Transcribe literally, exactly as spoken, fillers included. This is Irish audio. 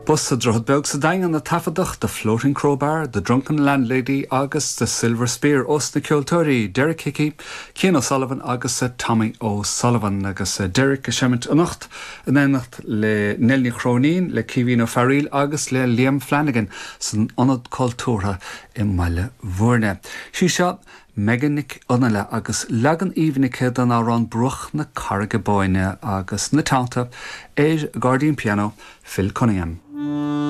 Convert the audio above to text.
Ba sa Droichead Beag sa Daingean a taifeadadh The Floating Crowbar, The Drunken Landlady agus The Silver Spear os na ceoltóirí Derek Hickey, Cian O'Sullivan agus Tommy O'Sullivan agus Derek ag seimint anocht in éineacht le Nell Ní Chróinín le Caoimhín Ó Fearghaíl agus le Liam Flanagan san Ionad Cultúrtha i mBaile Bhúirne. Sí seo Megan Nic Fhionnaile agus leagan aoibhinn aici den amhrán Bruach na Carraige Báine agus ina teannta ar gairdín pianó Phil Cunningham.